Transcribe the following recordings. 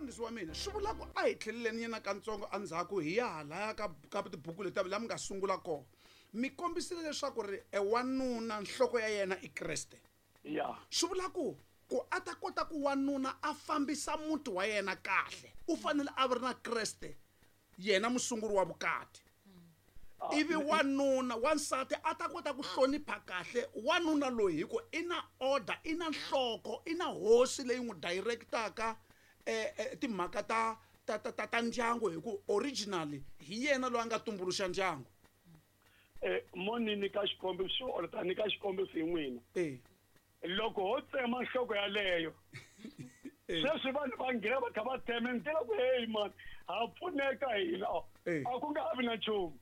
Mfundhisi wa mina, swi vula ku a hi tlheleleni nyana katsongo endzhaku hi ya halaya ka tibuku leti la mi nga sungula kona. Mi kombisile leswaku ri e wanuna nhloko ya yena i Kreste. Ya. Swi vula ku a ta kota ku wanuna a fambisa muti wa yena kahle, u fanele a ri na Kreste, yena musunguri wa vukati. Ivi wanuna, wansati a ta kota ku hlonipha kahle wanuna loyi hi ku i na order, i na nhloko, i na hosi leyi n'wi directaka timhaka ta ndyangu, hi ku originally hi yena loyi a nga tumbuluxa ndyangu. Mo ni nyika xikombiso, or ta nyika xikombiso hi n'wina. Loko ho tsema nhloko yaleyo, sweswi vanhu va nghena va kha va tsema ndlela ku hey man, ha pfuneka hina. A ku nga ha vi na nchumu.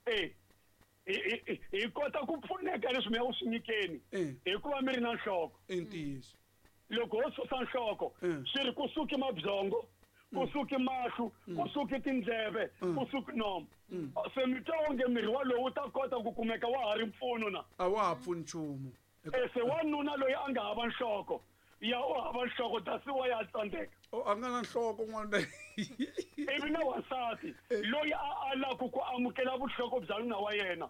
Hi kota ku pfuneka leswi mi ya ku swi nyikeni hikuva mi ri na nhloko. I ntiyiso. Loko ho susa nhloko, swi ri ku suki mabyongo, ku suki mahlo, ku suki tindleve, ku suki nomu. Se mi twa onge miri walowu wu ta kota ku kumeka wa ha ri mpfuno na? A wa ha pfuni nchumu. Se wanuna loyi a nga hava nhloko, ya u hava nhloko, that's why a tsandzeka. O, a nga na nhloko n'wana. Ivi na wansati loyi a alaku ku amukela vuhloko bya nuna wa yena.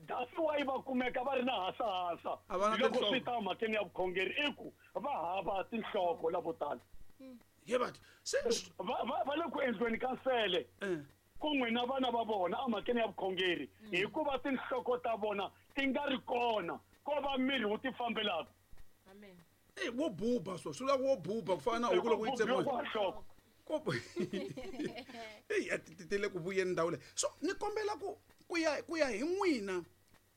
That's why va kumeka va ri na hasahasa. A va na Loko tinhloko. swi ta mhakeni ya vukhongeri, i ku va hava tinhloko lavo tala. Ye batho, se Va le ku endliweni ka nsele. Kun'we na vana va vona emhakeni ya vukhongeri, hikuva tinhloko ta vona ti nga ri kona, ko va miri wu ti fambelaka. Amen. Wo buba so, swi vula ku wo buba ku fana na huku loko yi Wo tsemiwa. buba nhloko. Ko Eyi, a ti le ku vuyeni ndhawu leyi. So ni kombela ku ya hi n'wina,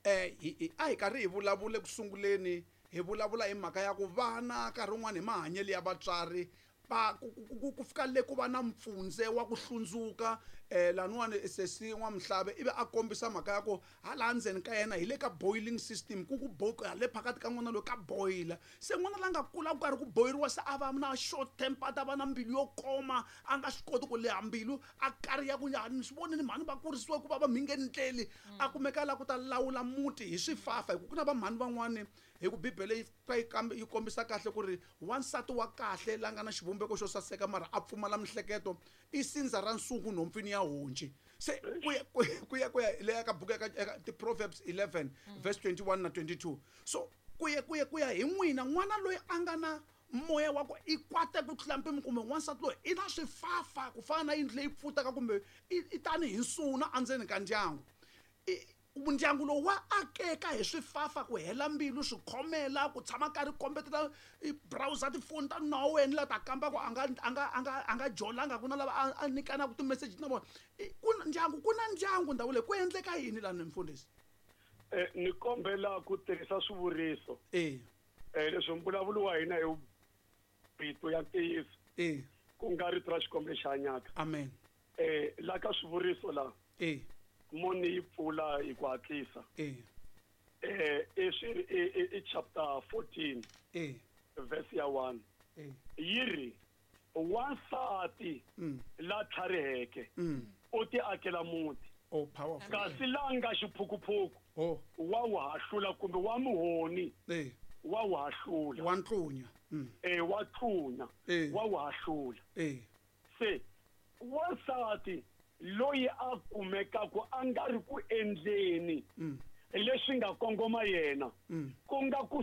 a hi karhi hi vulavula eku sunguleni, hi vulavula hi mhaka ya ku vana nkarhi wun'wani hi mahanyelo ya vatswari va ku fika le ku va na mpfundze wa ku hlundzuka, laniwani sesi N'wamuhlave ivi a kombisa mhaka ya ku hala ndzeni ka yena hi le ka boiling system, ku ku le phakathi ka n'wana loyi ka boila. Se n'wana la nga kula ku karhi ku boyiriwa, se a va na short temper, a ta va na mbilu yo koma, a nga swi koti ku leha mbilu, a kariha ku ya ni swi vonile mhani va kurisiwe ku va va mhingeni ndleli, a kumeka la ku ta lawula muti hi swifafa. Hi ku ku na va mhani van'wani, hi ku Bibele yi fika yi kambe yi kombisa kahle ku ri wansati wa kahle la nga na xivumbeko xo saseka mara a pfumala mihleketo i sindza ra nsungu nhompfini ya honci. Se ku ya leya ka buku ya ka ti-Proverbs 11 verse 21 na 22. So ku ya hi n'wina, n'wana loyi a nga na moya wa ku i kwate ku tlula mpimo, kumbe wansati loyi i na swifafa ku fana na yindlu leyi pfutaka, kumbe i tani hi nsuna endzeni ka ndyangu. Ndyangu lowu wa akeka hi swifafa, ku hela mbilu, swikhomela, ku tshama karhi kombetela i browser tifoni ta nuna wa wena la ta kamba ku a nga jolanga, ku na lava a nyikanaka ti-message na vona. Ku na ndyangu, ku na ndyangu ndhawu leyi, ku endleka yini lani mfundhisi? Ni kombela ku tirhisa swivuriso. Leswi mbulavulo wa hina hi rito ya ntiyiso. Ku nga rito ra Xikwembu lexi hanyaka. Amen. La ka swivuriso la. Moni yi pfula hi ku hatlisa. I chapter 14. Verse ya 1. Yi ri, wansati la tlhariheke, u ti akela muti. Oh, powerful. Kasi la nga xiphukuphuku, wa wu hahlula kumbe wa muhoni. Wa wu hahlula. Wa ntlunya. Wa tlunya. Wa wu hahlula. Se wansati loyi a kumekaka a nga ri ku endleni leswi nga kongoma yena, ku nga ku